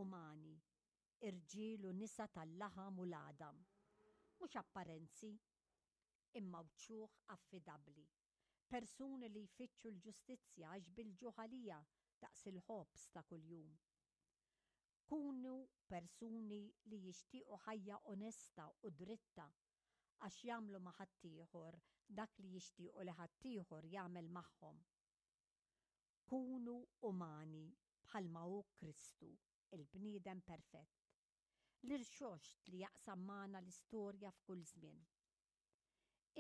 umani, irġiel u nisa tal-laħam u l-għadam. Mhux apparenzi, imma wċuħ affidabbli. Persuni li jfittxu l-ġustizzja għax bil-ġuħ għaliha daqs il-ħobż ta' kuljum. Kunu persuni li jixtiequ ħajja onesta u dritta għax jagħmlu ma' ħaddieħor dak li jixtiequ li ħaddieħor jagħmel magħhom. Kunu umani bħalma hu Kristu, il-bniedem perfett. L-irxoxt li jaqsam magħna l-istorja f'kull żmien.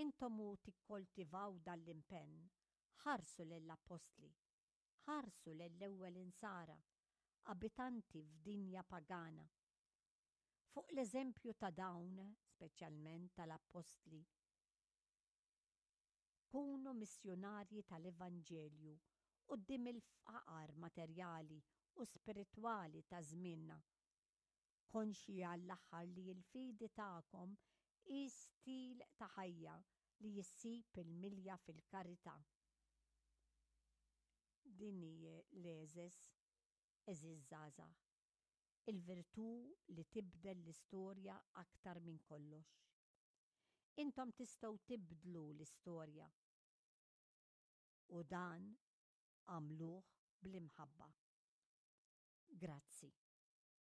Intom u tikkoltivaw dan l-impenn, ħarsu lill-appostli, ħarsu lill-ewwel insara, abitanti f'dinja pagana. Fuq l-eżempju ta' dawn, speċjalment tal-appostli, Kunu missjunarji tal-Evanġelju quddiem il-faqar materjali u spiritwali ta' żmienna. Konxji għall-aħħar li l-fidi tagħkom hi stil ta' ħajja li ssib il-milja fil-karità. Din hi l-għeżeż, għeżież żgħażagħ, il-virtù li tibdel l-istorja aktar minn kollox. Intom tistgħu tibdlu l-istorja. U dan għamluh bl-imħabba. Grazzi.